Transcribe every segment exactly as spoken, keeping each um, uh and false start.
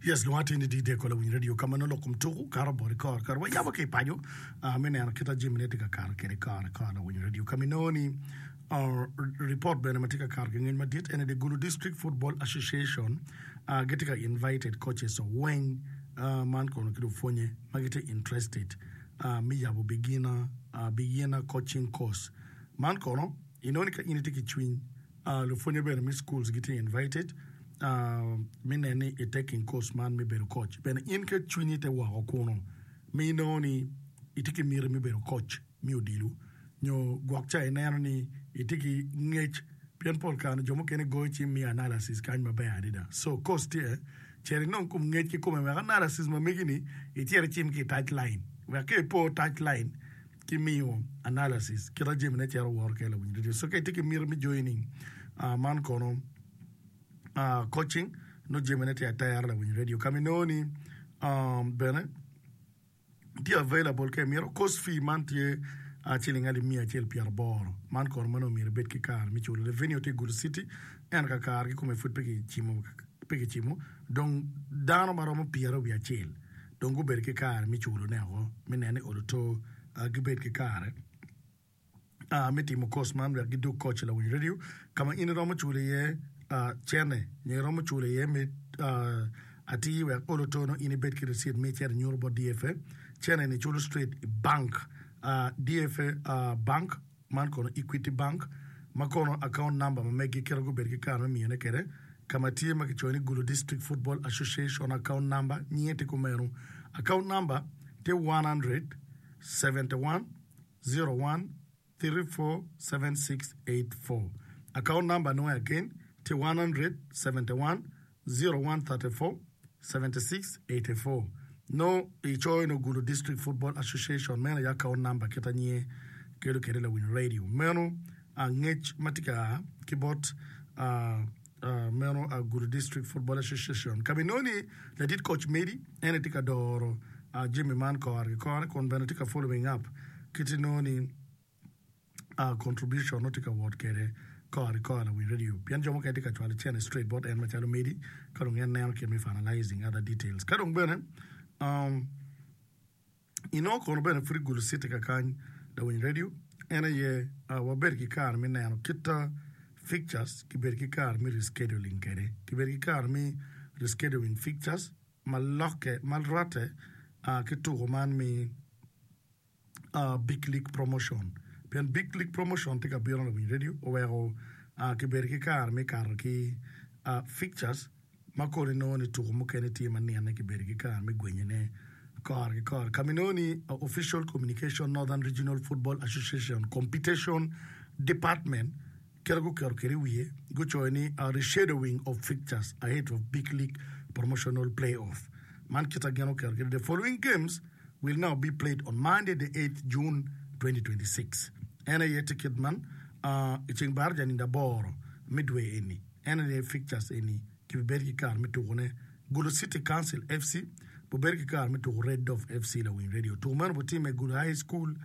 Yes, lwonga tye ni D J Kola Winyo Radio ka ma nongo lok kom tuku kato bot i kore kore. Wayabo ki i paco ah, me neno kit ma jamine tye ka kato kwede kore kore Lawiny Radio ka ma inongo ni ah, report bene ma tye ka kato ki ngec madit ene the Gulu District Football Association ah, gitye ka invited coaches weng ah, man kono ki lupwonye ma gitye interested ah, me yabo beginner, ah, beginner coaching course. Man kono inongo ni ka in itye ki cwiny Uh, lupwonye bene me schools gitye invited uh, me neno ni i taking course man me bedo coach. Bene in ka cwinyi te woko kuno mi inongo ni itye ki miti me bedo coach me odilo nyo gwok ca ineno ni itye ki ngec pien pol kare jo mukene goyo cim miyo analysis kany maber adada. So course tye cit inong kom ngec kikome wek analysis ma megi ni icit icim ki i touch line wek ka ipo touch line ki miyo analysis kita jamine cito woro kele Lawiny Radio. So ka itye ki miti me joining uh, man kono uh, coaching no jamine tye atera Lawiny Radio ka ma inongo ni um, bene tye available ka imito course fee man tye uh, ciling alip miya acel pyeraboro man kono ma nongo myero ibed ki kare me culo. The venue tye Gulu City ento ka kare kikome pud pe kicimo pe kicimo dong dano maromo pyeraryo wiye acel dong gubedo ki kare me culone oko me neno ni oloto uh, gibed ki kare uh, me timo course man wek gidug coach Lawiny Radio ka ma in iromo culo iye uh, cene nyo iromo culo iye me uh, atir wek oloto no in ibed ki receipt me icito inyuto bot D F A. Cene ni culo straight i bank uh, D F A uh, bank man kono Equity Bank ma kono account number ma megi kite gubedo ki kare me miyone kwede ka ma tye ma kicoyo ni Gulu District Football Association account number nyinge tye kumeno. Account number tye one seven one zero one three four seven six eight four. Account number nwoye again tye one seven one zero one thirty-four seventy-six eighty-four. No icoyo no Gulu District Football Association meno aye account number kita nyinge kelo kwede Lawiny Radio. Meno angec ma tye ka ki bot uh, uh, meno uh, Gulu District Football Association. Ka ma inongo ni ladit coach Medi en tye ka doro uh, jami man kore ki kore kun bene tye ka following up kit inongo ni uh, contribution no tye ka wot kwede kore ki kore Lawiny Radio pien jo mukene tye ka cwalo cene straight bot en macalo Medi ka dong en neno kit me finalizing other details. Ka dong bene um, inongo kono bene pud i Gulu City kakany Lawiny Radio en aye uh, wabedo ki kare me neno kit uh, fixtures kibedo ki kare me rescheduling kwede kibedo ki kare me rescheduling fixtures ma lokke ma rwatte uh, ki tuko man mi uh, Big League Promotion pien Big League Promotion tye ka bino Lawiny Radio oweko uh, kibedo ki kare me kato ki uh, fixtures ma kono inongo ni tuko mukene tye ma nine kibedo ki kare me gwenyone kore ki kore. Ka ma inongo ni uh, Official Communication Northern Regional Football Association Competition Department kite guketo kwede i wiye gucoyo ni uh, reshadowing of fixtures ahead of Big League Promotional Playoff. Man kita gin oketo kwede the following games will now be played on Monday the eighth June twenty twenty-six. En aye tye kit man uh, i ceng bar janindo aboro me dwe eni en aye fixtures eni kibibedo ki kare me tukone. Gulu City Council F C bubedo ki kare me tuko Red Dove F C Lawiny Radio. Tuko meno butime i Gulu High School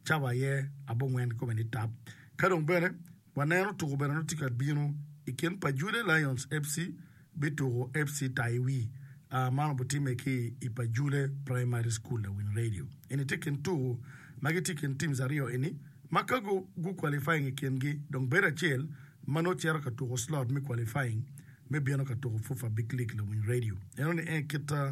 cawa aye abongwen kome ni tap. Ka dong bene waneno tuko bene no tye ka bino i kin Pajule Lions F C bituko F C Taiwi uh, man butime ki i Pajule Primary School Lawiny Radio. Eni tye kin tuko ma gitye kin teams aryo eni ma ka gu, gu qualifying i kingi dong bedo acel ma nongo cito ka tuko slot me qualifying me bino ka tuko FUFA Big League Lawiny Radio. Eno ni en kit uh,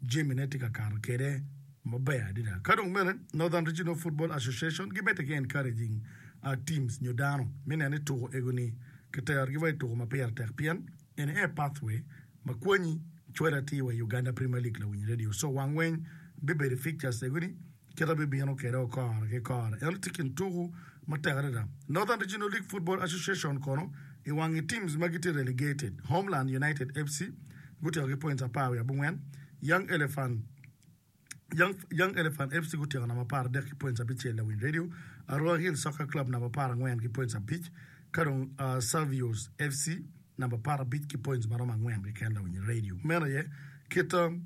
jamine tye ka kato kwede maber adada. Ka dong bene Northern Regional Football Association gimedde ki encouraging uh, teams nyo dano me neno ni tuko ego-ni kiterogi wa i tuko ma pire tek pien eni aye pathway ma kwanyi cwalo atir wa i Uganda Premier League Lawiny Radio. So wang weng bibedo fixtures ego-ni kita bibino kwede o kore ki kore. Eno tye kin tuko matek adada. Northern Regional League Football Association kono i wangi teams ma gitye relegated Homeland United F C gutyeko ki points apar wiye abongwen, Young Elephant Young, Young Elephant F C gutyeko namba apar adek ki points abicel Lawiny Radio, Arua Hill Soccer Club namba apar angwen ki points abic ka dong uh, Savios F C namba apar abic ki points maromo angwen keken Lawiny Radio. Meno aye kit um,